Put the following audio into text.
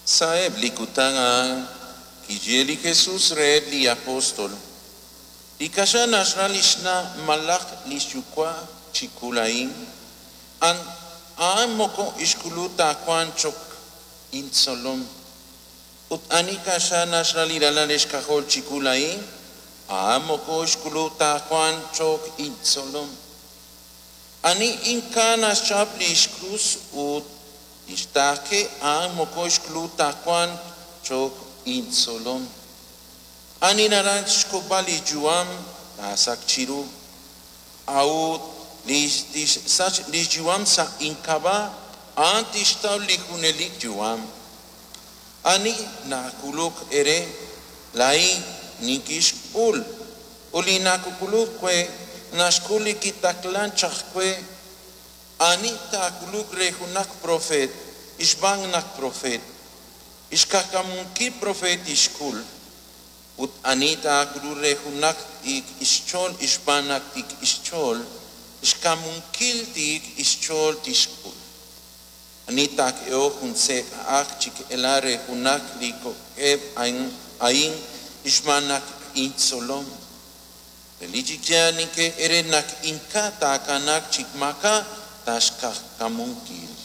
Sa'eb' li kutan a'an kixye li Jesus reheb' li apóstol: Li kaxa naxra li xna' malaj li xyuwa' chiwu laa'in, a'an moko xk'ulub' ta wank cho'q intzolom. Ut ani kaxa naxra li ralal xk'ajol chiwu laa'in, a'an moko xk'ulub' ta wank cho'q intzolom. Ani ink'a' naxchap li xkrus ut tixtaaqe, a'an moko xk'ulub' ta wank cho'q intzolom. Ani naraj xk'ulb'al li yu'am, taasachq chiru. A'ut li tixsach li xyu'am sa' ink'ab'a', a'an tixtaw li junelik yu'am. Ani nak'uluk eere, laa'in nikinxk'ul, ut li nak'uluk we, naxk'ul li kitaqlank chaq we. Ani taak'uluq re junaq propeet xb'aan naq propeet, xq'ajkamunkil propeet tixk'ul. Ut ani taak'uluq re junaq tiik xch'ool xb'aan naq tiik xch'ool, xkamunkil tiik xch'ool tixk'ul. Ani taak'ehoq jun sek' aj chi ela re junaq li kok'eb' a'in xb'aan naq intzolom, relik chi yaal ninye eere naq ink'a' taakanaaq chi maak'a' xq'ajkamunkil.